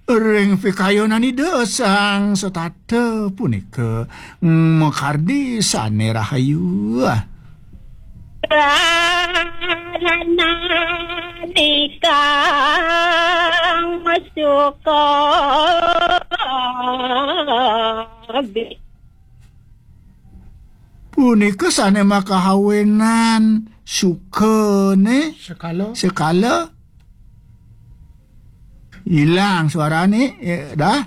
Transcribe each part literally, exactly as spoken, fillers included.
Ring pikayunan Ida Sang Setata punika makardi sane rahayu. Punika sane makahawinan sukane sekala. Sekala. Ilang suarane, eh, dah.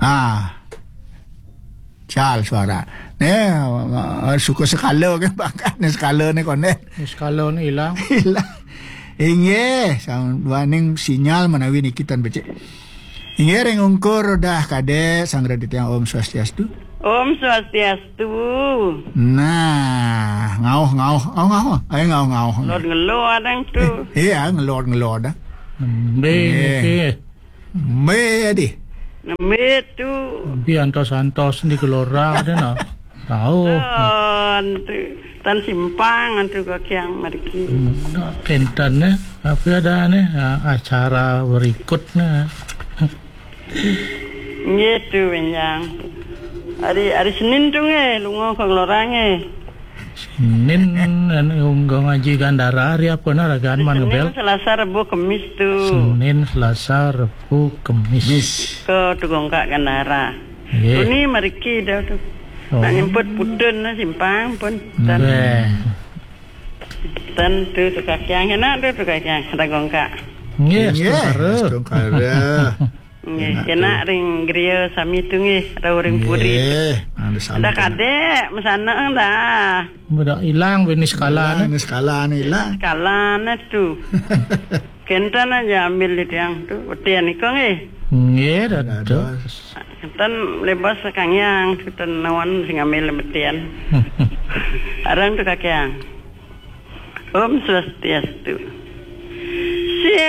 Ah. Cal suara. Ne, eh, suka sekala kan, bakat ne sekala ne konden. Sekala ne ilang. Ilang. Inggih, sang duaning sinyal menawi niki tan becik. Inggih, ring ungkur dah kadek, Sang Raditya, Om Swastiastu. Om Swastiastu. Nah, ngauh, ngauh, ngauh, ngauh. Ayo ngauh, ngauh. Ngelod ngelod adang tu. Iya, ngelod ngelod dah. Nembe niki. Nembe adi. Nembe tu. Nembe antos-antos di kelora ada nah. Tahu. Tan tu. Tan simpang antu kakiang mariki. Hmm, kenten ne. Apa ada ne? Ah, acara berikutnya. Nggih tu, Benjang. Hari, hari Senin tu nggih, lunga ka Ngelora nggih. Senin, anu, ungga ngaji gandara, hari apa na ragaan man Senin, ngebel? Selasa, Rebo, Kemis tu. Senin, Selasa, Rebo, Kemis. Mis. Ka Tugongkak gandara. Nggih. Tuni mariki dah tu. Oh. Nak nyemput putun lah simpang pun. Tan. Beh. Tan tu tu kakiang, enak tu tu kakiang, ada gongkak. Nggih, nggih, setungkara. Setungkara. Nggih, enak tu. Kena ring griya sami tu nggih, rau ring puri. Nggih, ada sami. Ada kadek, mesana dah. Mudah ilang, bini sekala. Ilang, ni sekala ni ilang. Sekala ni tu. Kenten aja ambil di tiang tu, betian iko nggih. Nggih, dados. Kenten lebas kangyang, kenten nawan sing ambil betian. Arang tu kakiang. Om Swastiastu. Sia